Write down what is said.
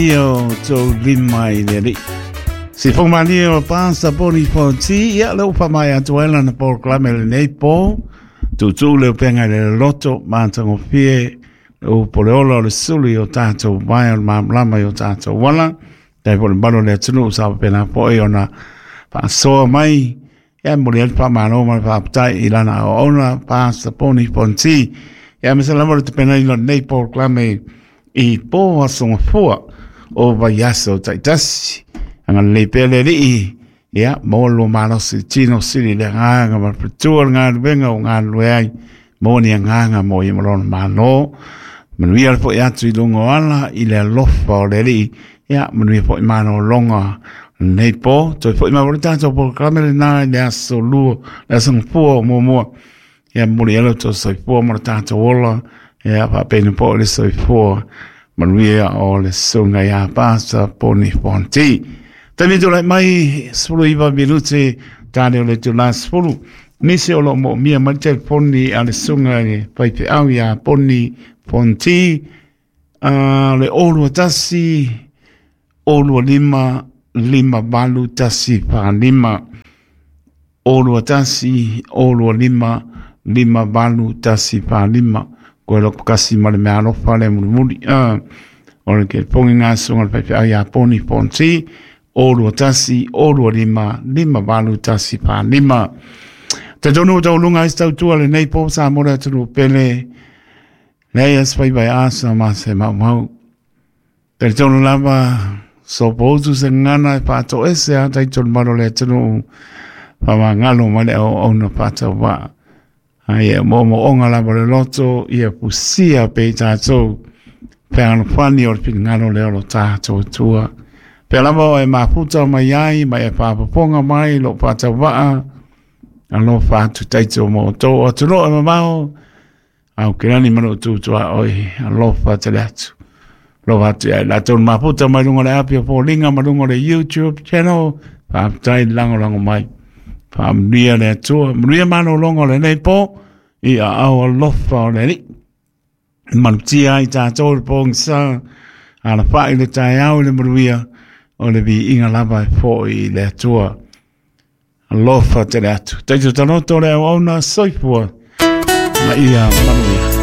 Ia o tou lima i le Alii. Sifoga malie o Pastor Poni Fonti, ia le upa mai atu ai lana polokalame lenei po, tuutuu le upega i le loto, matagofie, le upu o le ola o le sulu i o tatou vae o le malamalama i o tatou ala, tai po le mamalu o le atunuu sa faapena foi ona faasoa mai, ia momoli ai le faamalo ma le faafetai i lana auauna Pastor Poni Fonti. Ia aemaise lava o le tapenaina o lenei polokalame i po aso gafua o vaiaso taitasi. Agalelei pea le Alii, ia maua le lua malosi tino sili le agaga ma le faletua le galuega o galulue ai, maua ni agaga mo ia ma lona Malo. Manuia le foi atu i luga o ala i le alofa o le Alii, ia manuia foi malologa lenei po. Toe foi mai foi le tatou polokalame lena i le aso lua, le aso gafua o muamua. Ia momoli ai lo outou soifua ma lo tatou ola, ia faapena foi le soifua manuia o le susuga ia Pastor Poni Fonti. Taimi tulai mai 19 minute tane o le itula 10. Nisi o lo o moomia mai le telefoni a le susuga i le faifeau ia Poni Fonti, le 021 025 58 145. 021 025 58 145. Koe loko kasi ma le mea alofa le mulimuli. O le telefoni ngā susuga le faifeau ia Poni Fonti, 021 025 58 145. Talitonu ua taualuga ai se tautua lenei po sa mo le atunuu pele. Leai a se faiva e asa ma se maumau. Talitonu lava, sopoutu se gagana e faatoese a taito le mamalu o le atunuu, faamagalo mai le auauna faatauvaa. Ai e moomooga lava le loto, ia fusia pea i tatou fealofani o le finagalo lea o lo tatou Atua. Pea lava o e mafuta mai ai, ma e faafofoga mai lo faatauvaa, alofa atu taito mo outou atunuu e mamao, au ke lani ma lou tutuaoi, alofa tele atu. Alofa atu ia i latou na mafuta mai luga o le api o foliga ma luga o le YouTube channel, faafetai le lagolago mai. Faamanuia le Atua, manuia malologa o lenei po, i aao alofa o le Alii. Malutia ai tatou i le pogisa, alafai le taeao i le manuia, o le viiga lava e foi i le Atua. Alofa tele atu. Taito taloto le auauna soifua ma ia manuia.